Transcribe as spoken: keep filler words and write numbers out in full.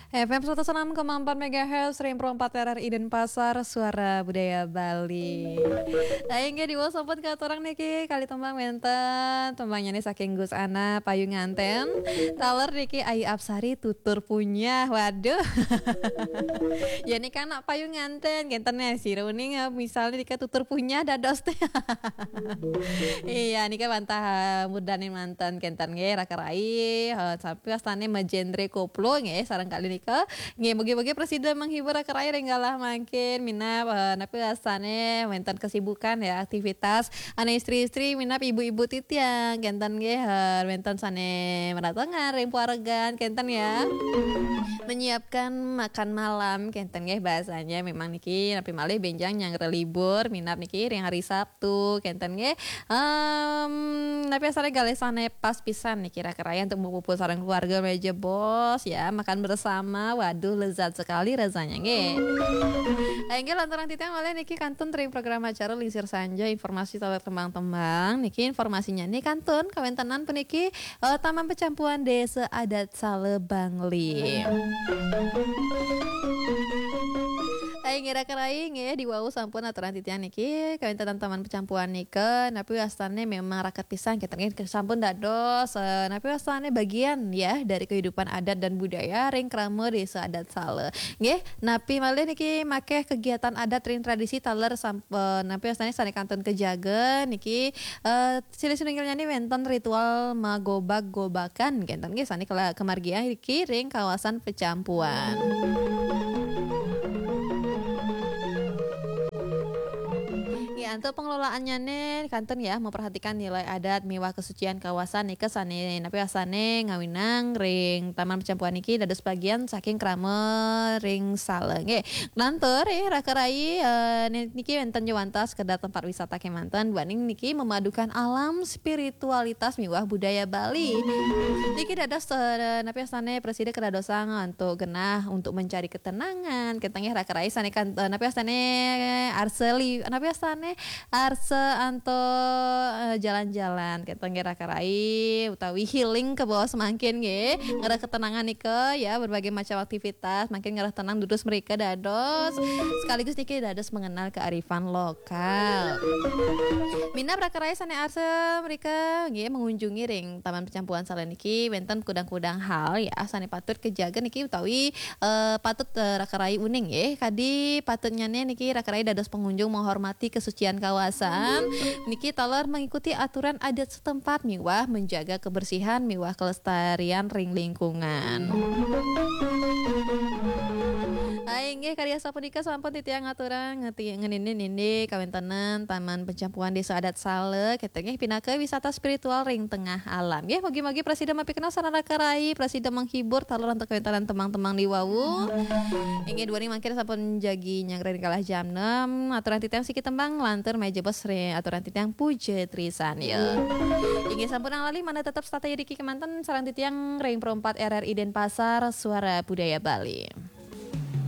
F M seratus enam koma empat megahertz, Ring Pro empat R R I Denpasar, Suara Budaya Bali. Nah, inggih diwaos sampun katurang niki kalih tembang wénten. Tembangnya nih saking Gus Ana, Payu Nganten. Taler niki Ayu Apsari, Tutur Punyah. Waduh. Ya nika anak Payu Nganten, kénten ya, sira uning, eh, misalnya nika Tutur Punyah dados téh. Iya, nika wantah, eh, murdaning manten kénten nggih, raka rai, eh, sampun wastane majenre koplo nggih, sareng kali nika. Nggih, mugi-mugi prasida menghibur raka rai ring galah mangkin, minab, eh, napi wastane wénten kesibukan ya, aktivitas. Ana istri-istri minab ibu-ibu titiang, kénten nggih, eh, wénten sane meratengan ring paregan, kénten ya. Menyiapkan makan malam, kénten nggih bahasanya. Memang niki napi malih benjang nyanggra libur, minab niki ring hari Sabtu, kénten nggih. Em, napi asale galih sane pas pisan niki raka rai untuk berkumpul sareng keluarga meja bos ya, makan bersama. Waduh, lezat sekali rasanya nggih. Inggih lanturang titiang malih niki kantun ring program acara Lingsir Sanja, informasi taler tembang-tembang. Niki informasinya nih kantun kawéntenan puniki, eh, Taman Pecampuan Desa Adat Sale Bangli. Ai ngira kerai nggih, diwau sampun aturan titiang niki kawéntenan Taman Pecampuan nika, napi wastane memang raket pisan kita nggih, sampun dados, eh, napi wastane bagian ya dari kehidupan adat dan budaya ring krama Desa Adat Sale. Nggih, napi malih niki makeh kegiatan adat ring tradisi taler samp-, eh, napi wastane sane kantun kejaga niki, eh, silih sinunggilnya nih wénten ritual magobag-gobakan, kénten nggih sane kela-, kemargian niki ring kawasan Pecampuan. Nggih, antuk pengelolaannya nih kantun ya, memperhatikan nilai adat miwah kesucian kawasan nika sane napi asane ngawinang ring Taman Pecampuan niki dados bagian saking krama ring sale. Nggih, lantur eh raka rai, eh, ni-, niki wénten jawanta sekedar tempat wisata kemanten, duaning niki memadukan alam spiritualitas miwah budaya Bali. Niki dados, eh, napi asane prasida kedadosan untuk genah untuk mencari ketenangan. Kita nggih raka rai sane kan, eh, napi asane arseli, napi asane arsa anto, eh, jalan-jalan. Kita nggih raka rai utawi healing ke bawah semangkin nggih. Ngerah ketenangan nika ya, berbagai macam aktivitas, makin ngerah tenang durus mereka dados. Sekaligus niki dados mengenal kearifan lokal. Minab raka rai sane arsa mereka nggih mengunjungi ring Taman Pecampuan sale niki wénten kudang-kudang hal ya sane patut kejaga niki utawi, eh, patut, eh, raka rai uning nggih. Kadi patutnya niki raka rai dados pengunjung menghormati kesucian kawasan. Niki taler mengikuti aturan adat setempat miwah menjaga kebersihan miwah kelestarian ring lingkungan. Hai, inggih karya sapunika sampun titiang aturang ngeti-, ngenini-nini kawéntenan Taman Pecampuan Desa Adat Sale, kita nggih pinaka wisata spiritual ring tengah alam. Nggih, mugi-mugi prasida mapikenoh sareng raka rai, prasida menghibur taler antuk kawéntenan tembang-tembang diwau. Inggih duaning mangkin sampun jagi nyanggra ring galah jam enam. Aturan titiang siki tembang lantur meja bos ring aturan titiang Puja Trisanya. Inggih sampun lali mana tetap stay diki kemanten sareng titiang ring Pro empat R R I Denpasar, Suara Budaya Bali.